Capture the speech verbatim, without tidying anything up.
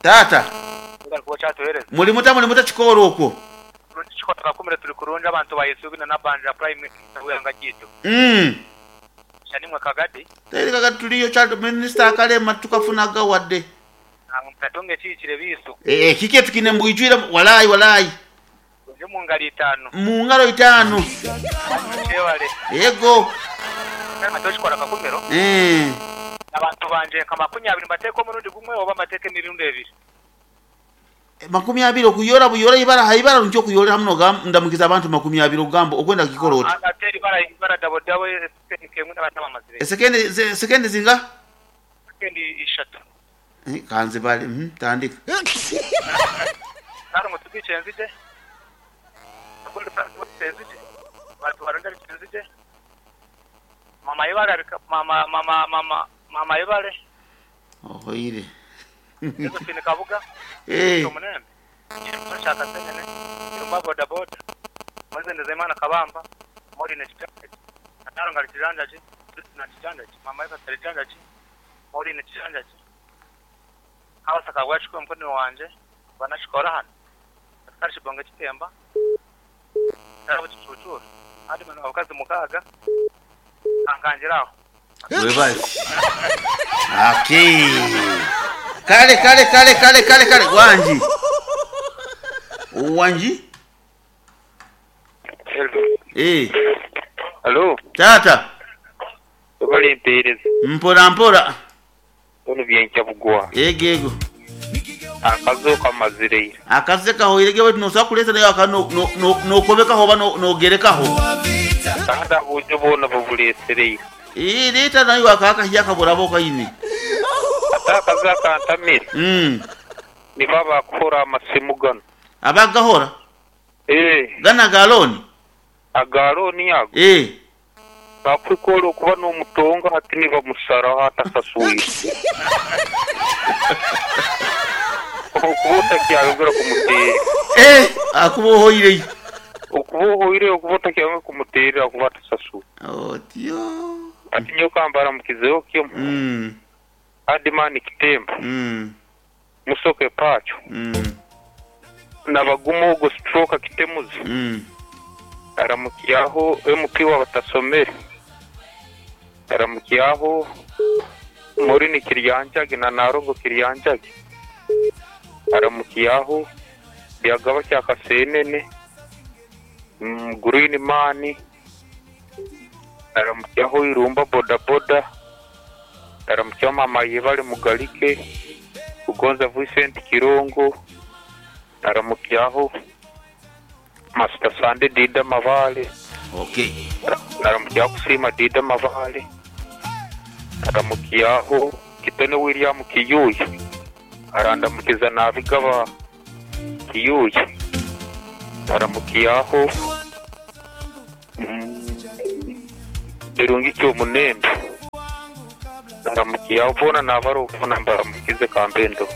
Tata, Bari kuba kyatuhereza. muli muta muli muta kikoro okwo. Kikora kakumire turi kurungi abantu bayisubina na banja prime wanga gitu. Mm. Shanimwe kagadi. Teri kagadi tuliyo kya minister akalema tukafunaga wadde. Katonge kikire bisu. Eh eh kike tukine mbwijwira walai walai. Nje mu ngalo itano. Mu ngalo itano. Chewale. Yego. Kama toshikora kakumiro. Eh. Abantu banje nka makumi abiri mbateka omurundi gumwe oba mbateka emirundi ebiri. Makumi abiri okuyora buyora ibara haibara ncho kuyora hamno ndamukiza abantu makumi abiri ogamba okwenda kikoro oti. Ate ibara ibara dabo dabo kemwe n'abatama mazire. Sekendi sekendi zinga? Sekendi ishatu. Kanze bali mhm tandika. Naro mutubiche nzije. Akunda nzije. Bantu barondera nzije. Mama ibara mama mama mama mama ibare. Ohoire. Josephine Kabuga. Eh. Omunembe. Shaka senene. Irumba boda boda. Mweze ndezemana kabamba. Mori ne chitanje. Ataro ngali chitanja chi. Na chitanja chi. Mama iba chitanja chi. Mori ne chitanja chi. Abasaka bwachiko mkono wanje banashikora hano. Askari shibonga chitemba. Tabo chichuchura. Adi mwana wakazi mukaga. Ankanjiraho. Webazi. Okay. Kale kale kale kale kale kale wanji. Wanji? Hello. Eh, Hello. tata, Bali mpereza. mpora mpora. Ono byenkya bugwa. Ego ego. Akazo kamazireira. Akaze kaho irege wetu nosa kuleta nayo aka no no no nokobekaho ba no nogerekaho. Kandi abujo bona bubulesereira. Eh, leta nayo akaka hiya kaburabo kaini. Ate akazo akantamire. Mm. Nibo abakora amasimu gano. Abagahora Eh, gana galoni. agaloni ago. Eh, Bakwikora okuba n'omutonga hati nibamusaraho atasasuire. Okuba otakyayongera kumuteera. eh, akubohoire. Okuba ohoire okuba otakyayongera kumuteerera akuba atasasuire. Otyo. Ati nyowe kambara mukizeho kimwe. Mm. Adimani Kitemba. Mm. Musoke pacho. Mm. Nabagumu ogo stroke akitemuzi. Mm. Aramukyaho M P wabatasomere. Aramukyaho Morini Kiryanjage na Narongo Kiryanjage. Aramukyaho Byagaba kya Kasenene. Mm, Green Man. Aramukyaho Irumba boda boda. Aramukyaho Mama Yebale Mugalike. Ugonza Vincent Kirongo. Aramukyaho Master Sande Dida Mavale. Okay. Aramukyaho Kusima Dida Mavale. Aramukyaho Kitone William Kiyuya. Arandamukiza Nabigaba Kiyuya. Aramukyaho Birungi Kyomunembe. Aramukyaho bona nabaro bona mbaramukize kambendo.